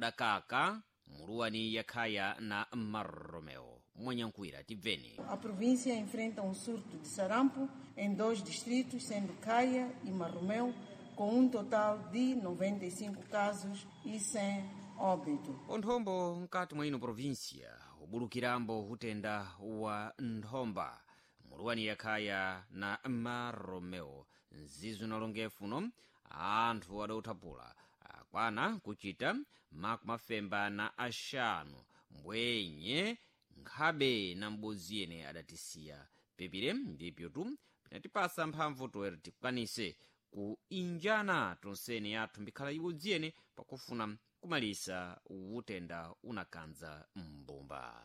Udakaka muluwani yakhaya na Marromeo Mwanyankwira tibveni. A província enfrenta um surto de sarampo em dois distritos, sendo Caia e Marromeu, com um total de 95 casos e 100 óbito. Onthombo mkati mwa ino província ubulukirambo utenda wa nthomba muluwani yakhaya na Marromeo nzizo nalongefuno anthu adauthapula akwana kuchita 55 mbwenye nkhabe na m'bodzi yene adatisiya pepire ndipyotu pinatipasa mphamvu toera tikwanise kuinjana tonsene yathu mbikhala ibodzi yene pakufuna kumalisa utenda unakanza mbumba.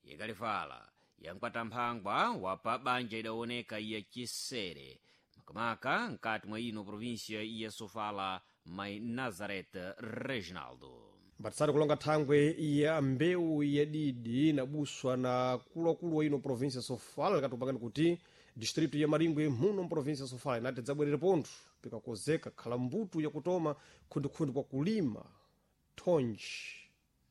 Ikalifala yankwata mphangwa wapa banja idawoneka ya chisere makamaka mkati mwa ino província ya Sofala mai Nazareth Reginaldo. Mbatisati kulonga thangwe ya mbewu yadidi inabuswa na akuluakulu wa ino província ya Sofala likatupangani kuti distrito ya Maringwe muno mprovíncia ya Sofala inati dzabwerere pontho pikakozeka khala mbuto yakutoma khundikhundi kwa kulima thonji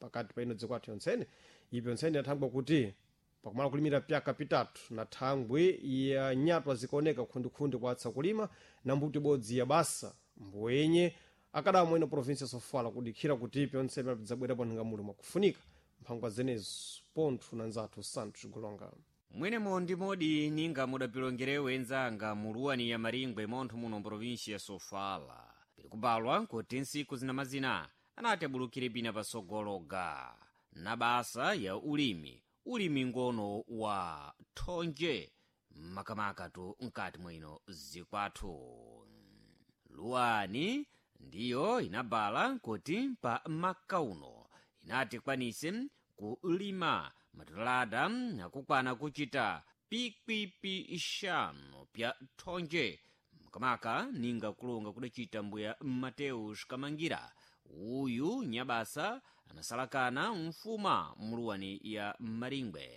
pakati pa ino dziko athu yontsene. Ipi yontsene yathangwa kuti pakumala kulimira pyaka pitatu na thangwe ya nyatwa zikaoneka khundikhundi kwa atsakulima na mbuto ibodzi ya basa mbwenye akadamwa ino província ya Sofala kudikhira kuti pyonse pidzabwerapo nhingamulo mwakufunika mphangwa zenezo pontho na nzathu Santos Golonga. Mwenemo ndi modi ninga mudapilongerewe enzanga muluwani ya Maringwe montho muno mprovinsia ya Sofala pili kubalwa kuti nsiku zinamazina anati abulukire pina pasogologa na basa ya ulimi, ulimi ngono wa thonje makamaka-tu mkati mwino zikwathu. Luwani ndiyo inabala kuti pa maka uno inati kwanise kulima matulada akukwana kuchita 5,000 pya thonje makamaka ninga kulonga kudacita mbuya Mateus Kamangira. Uyu nyabasa anasalakana mfuma muluwani ya Maringwe.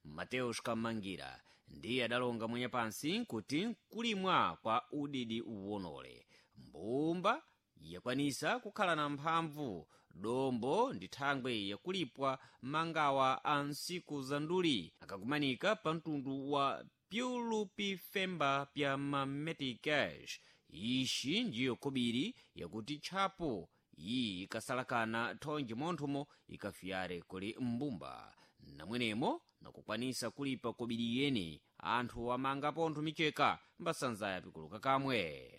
Mateus Kamangira ndiye adalonga mwenye pansi kuti kulimwa kwa udidi uwonole mbumba yakwanisa kukhala na mphamvu dombo ndi thangwe yakulipwa mangawa a nsiku za nduli akakumanika pa mtundu wa pyulupi femba pya mameticash. Ixi ndiyo kobiri yakuti tchapo iyi ikasalakana thonje monthomo ikafiyare kuli mbumba namwenemo nakukwanisa kulipa kobiri yene anthu amanga pontho micheka mbasanzaya pikuluka kamwe.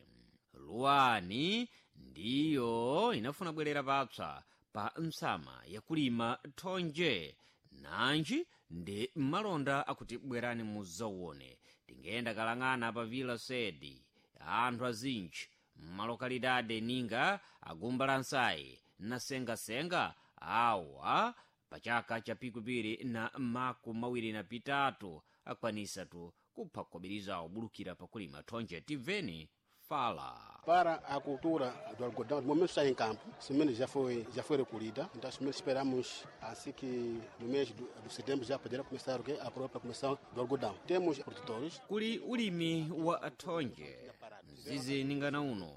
Luwani ndiyo inafuna bwerera papsa pa msama yakulima thonje nanji ndi malonda akuti bwerani muzawone tingenda kalang'ana pa Vila Sedi anthu azinji mmalokalidade ninga agumba la nsayi na sengasenga awa pachaka cha 2023 akwanisatu kupha kobirizawo bulukira pakulima thonje. Tibveni fala. Para a cultura do algodão, no momento está em campo, semente já foi recolhida, então semente esperamos assim que no mês do setembro já poderá começar okay, a própria começar do algodão. Temos produtores. Kuli ulimi wa thonje mzizi ningana uno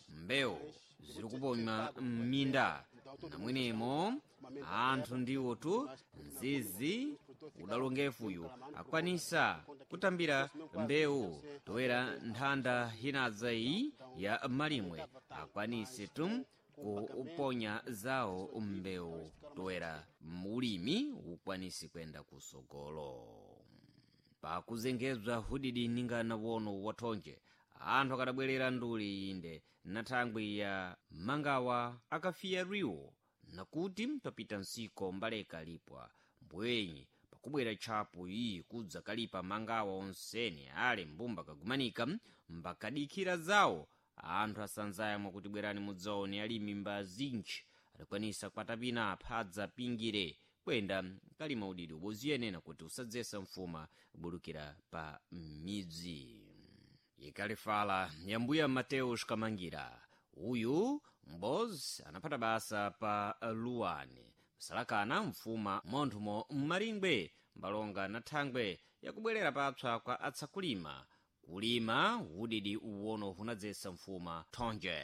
mbewu ziri kuponywa m'minda namwenemo anthu ndiwotu mzizi udalongefuyu akwanisa kutambira mbewu toera nthanda inadza iyi ya malimwe akwanise tu kuponya zawo mbewu toera ulimi ukwanise kwenda kusogolo. Pakuzengezwa hudidi ningana wono wathonje anthu akadabwerera nduli inde na thangwi ya mangawa akafiya riwo nakuti papita nsiko mbaleka lipwa mbwenyi pakubwera tchapo iyi kudza kalipa mangawa onsene ale mbumba kagumanika mbakadikhira zawo anthu asanzaya mwakuti bwerani mudzaone alimi mbazinji adakwanisa kwatapina aphadza pingire kwenda kalima udidi uboziyenena kuti usadzesa mfuma bulukira pa midzi. Ikalifala ya mbuya Mateus Kamangira. Uyu mbozi anaphata basa pa Luwani msalakana mfuma monthumo mmaringwe mbalonga na thangwe yakubwerera papsa kwa atsakulima kulima udidi uwono hunadzesa mfuma thonje.